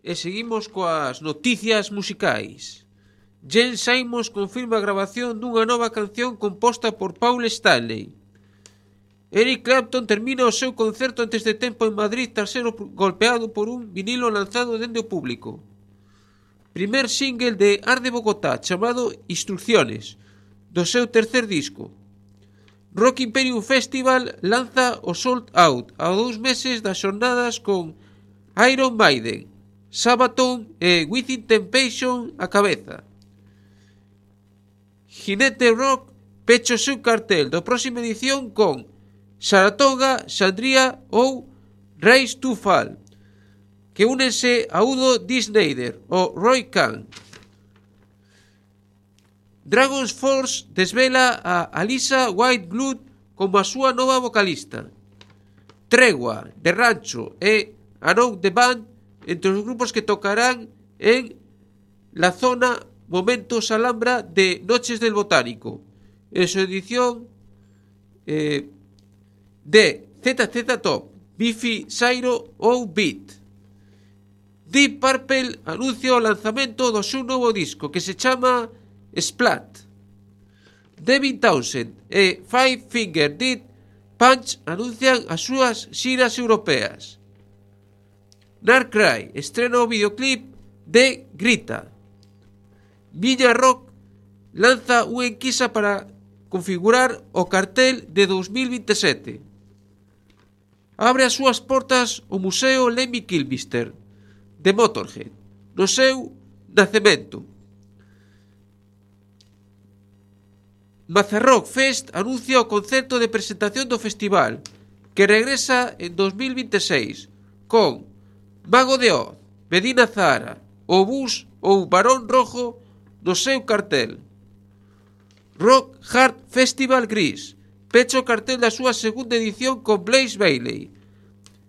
E seguimos coas noticias musicais. Gene Simmons confirma a grabación dunha nova canción composta por Paul Stanley. Eric Clapton termina o seu concerto antes de tempo en Madrid tras ser golpeado por un vinilo lanzado dende o público. Primer single de Art de Bogotá chamado Instrucciones, do seu tercer disco. Rock Imperium Festival lanza o Sold Out a 2 meses das xornadas con Iron Maiden, Sabaton e Within Temptation a cabeza. Jinete Rock pecha o seu cartel da próxima edición con Saratoga, Sandria ou Rise to Fall, que únense a Udo D. Snyder ou Roy Khan. Dragon's Force desvela a Alisa Whiteblood como a súa nova vocalista. Tregua, de Rancho e Around the Band entre os grupos que tocarán en la zona Momentos Alhambra de Noches del Botánico, en su edición de ZZ Top, Biffy Clyro ou Beat. Deep Purple anuncia o lanzamento do seu novo disco que se chama Splat. Devin Townsend e Five Finger Death Punch anuncian as súas xiras europeas. Narcry estrena o videoclip de Grita. Viña Rock lanza unha enquisa para configurar o cartel de 2027. Abre as súas portas o Museo Lemmy Kilmister de Motorhead no seu nacemento. Mazarrock Fest anuncia o concerto de presentación do festival que regresa en 2026 con Mago de Oz, Medina Zahara, Obús ou Barón Rojo no seu cartel. Rock Hard Festival Gris pecha o cartel da súa segunda edición con Blaze Bayley,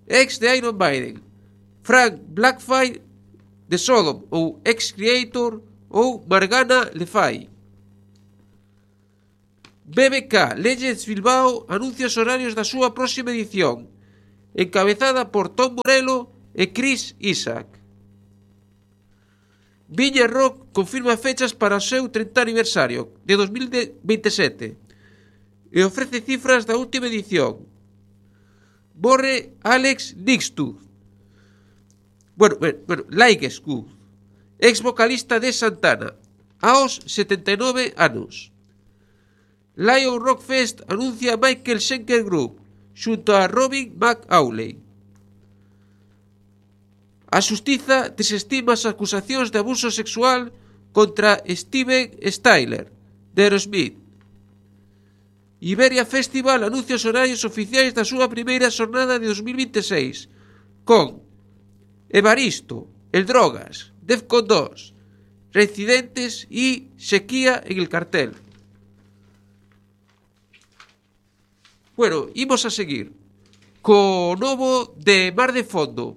ex de Iron Maiden, Frank Blackfire de Sodom ou ex-Creator ou Morgana Le Fay. BBK Legends Bilbao anuncia os horarios da súa próxima edición, encabezada por Tom Morello e Chris Isaac. Viña Rock confirma fechas para o seu 30 aniversario de 2027 e ofrece cifras da última edición. Morre Alex Nixtooth, Laiguescu, ex vocalista de Santana, aos 79 anos. Lion Rock Fest anuncia Michael Schenker Group xunto a Robin McAuley. A xustiza desestima as acusacións de abuso sexual contra Steven Tyler de Aerosmith. Iberia Festival anuncia os horarios oficiais da súa primeira xornada de 2026 con Evaristo, El Drogas, Defcon 2, Reincidentes e Sequía en el cartel. Bueno, imos a seguir co novo de Mar de Fondo,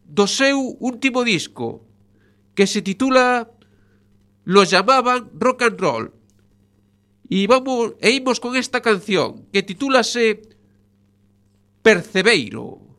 do seu último disco, que se titula Lo llamaban rock and roll. E imos con esta canción que titúlase Percebeiro.